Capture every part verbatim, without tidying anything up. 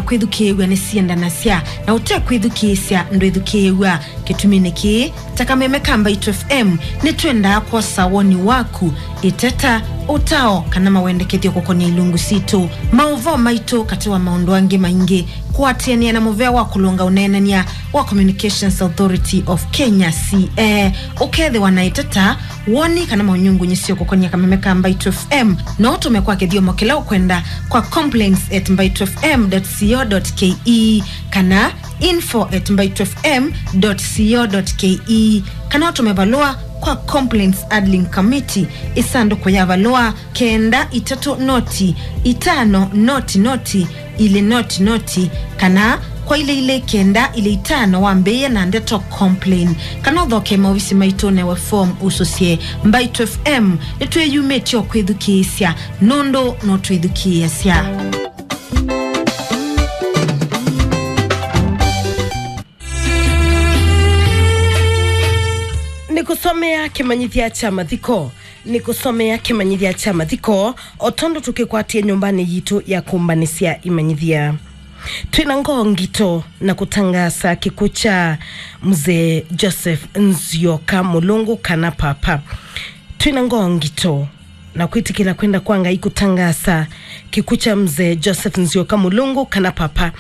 Kwĩthukĩĩw'a nĩsiendanasya, na ũte kwĩthukĩĩsya ndwĩthukĩĩw'a. Kĩtuminĩ kĩĩ, ta Kameme ka Mbaitũ F M, nĩtwendaa kwosa woni waku. Ĩteta, ũtao, kana mawendekethyo kũkonĩa ilungu sitũ. Maũvoo maitũ, katĩ wa maũndũ angĩ maingĩ, kũatĩanĩa na mũvea wa kũlũnga ũneenany'a wa Communications Authority of Kenya, C A. Ũkethĩwa na ĩteta, woni, kana maũnyungunyĩsyo kũkonĩa Kameme ka Mbaitũ F M, no ũtũme kwa kĩthyomo kĩla ũkwenda kwa complaints at mbaitũ F M dot co dot K E kana info at mbaitũ F M dot co dot K E, kana ũtũme valũa kwa complaints handling committee, ĩsandũkũ ya valũa kenda itatũ noti itano noti noti ilĩ noti noti, kana kwa ilĩ ilĩ kenda ilĩ itano wambĩĩe na ndeto complain, kana ũthoke maovisi maitũ newe form ũsũsye. Mbaitũ F M nĩtwĩyumĩtye o kwĩthukĩĩsya, nũndũ no twĩthukĩĩasya. Nĩkũsomea kĩmanyĩthya kya mathiko. Nĩkũsomea kĩmanyĩthya kya mathiko, o tondũ tũkĩkwatie nyũmbanĩ yitũ ya kũmbanĩsya imanyĩthya. Twĩ na ngoo ngito na kũtangaasa kĩkw'ũ kya Mzee Joseph Nzioka Mũlũngũ, kana Papa. Twĩ na ngoo ngito na kwĩtĩkĩla kwenda kwa Ngai kũtangaasa kĩkw'ũ kya Mzee Joseph Nzioka Mũlũngũ, kana Papa,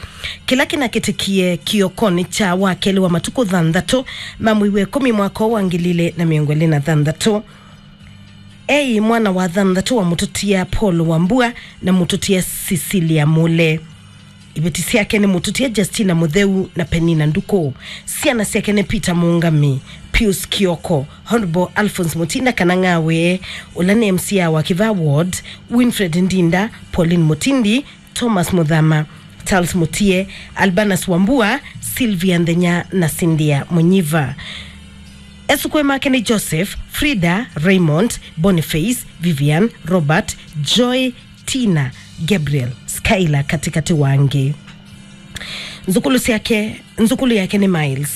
kĩla kĩnakĩtĩkie kĩokonĩ kya wakelĩ wa matukũ thanthatũ ma mwei wa ĩkũmi mwaka ũũ wa ngili ilĩ na mĩongo ĩlĩ na thanthatũ. Eĩ mwana wa thanthatũ wa mũtũtia Paul Wambua na mũtũtia Cecilia Mule. Iveti syake nĩ mũtũtia Justina Mũtheu na Penina Nduku. Syana syake nĩ Peter Mũngami, Pius Kioko, Honorable Alphonse Mutinda kana Ng'awe, ũla nĩ M C A wa Kĩvaa Ward, Winfred Ndinda, Pauline Mutindi, Thomas Muthama, Charles Mutie, Albanus Wambua, Sylvia Nthenya na Cynthia Munyiva. Esũkũe make nĩ Joseph, Frida, Raymond, Boniface, Vivian, Robert, Joy, Tina, Gabriel, Skylar katĩkatĩ wa angĩ. Nzukulu syake, nzukulu yake nĩ Miles.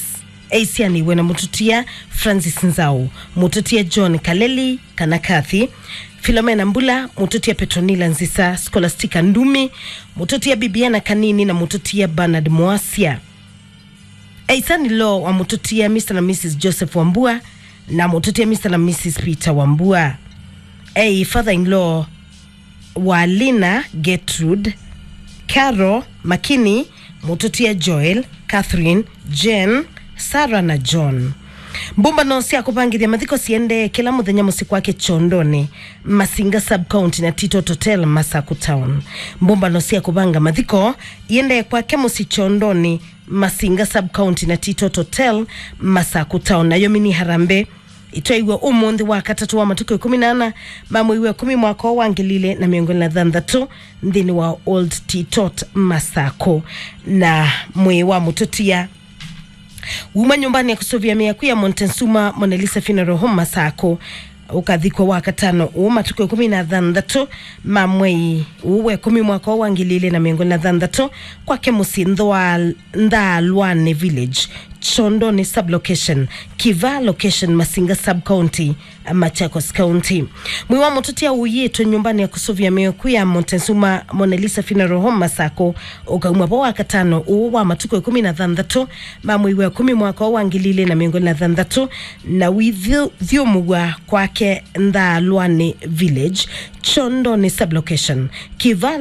Eisyanĩw'e na mũtũtia Francis Nzau, mũtũtia John Kaleli kana Kathy, Philomena Mbula, mũtũtia Petronila Nzisa, Scholastica Ndumi, mũtũtia Bibiana Kanini na mũtũtia Bernard Moasia. Eisani law wa mũtũtia Mister na Missus Joseph Wambua na mũtũtia Mister na Missus Peter Wambua. Ei father-in-law wa Lina, Gertrude, Carol, Makini, mũtũtia Joel, Catherine, Jane, Sarah na John. Mbũmbano sya kũvangĩthya mathiko siendee kĩla mũthenya mũsyĩ kwake Kyondonĩ, Masinga Sub-County na Titot Hotel, Masakũ Town. Mbũmbano sya kũvanga mathiko iendee kwake mũsyĩ Kyondonĩ, Masinga Sub-County na Titot Hotel, Masakũ Town. Nayo mini harambee ĩtwaiwe ũmũnthĩ wa katatũ wa matukũ ĩkũmi na ana ma mwei wa ĩkũmi mwaka ũũ wa ngili ilĩ na mĩongo ĩlĩ na thanthatũ nthĩnĩ wa Old Titot, Masakũ. Na mwĩĩ wa mũtũtia wuma nyũmbanĩ ya kũsũvĩa mĩaku ya Montezuma Mona Lisa Funeral Home Masakũ ũkathikwa wa katano ũũ matukũ ĩkũmi na thanthatũ ma mwei ũũ wa ĩkũmi mwaka ũũ wa ngili ilĩ na mĩongo ĩlĩ na thanthatũ kwake mũsyĩ Nthwa-, Nthaalwanĩ Village, Kyondonĩ Sub-Location, Kĩvaa Location, Masinga Sub-County, Machakos County. Mwĩĩ wa mũtũtia ũiĩtwe nyũmbanĩ ya kũsũvĩa mĩaku ya Montezuma Mona Lisa Funeral Home Masakũ ũkauma vo wa katano ũũ wa matukũ ĩkũmi na thanthatũ ma mwei wa ĩkũmi mwaka ũũ wa ngili ilĩ na mĩongo ĩlĩ na thanthatũ, na wĩthyũmũw'a kwake Nthaalwanĩ Village, Kyondonĩ Sub-Location, Kĩvaa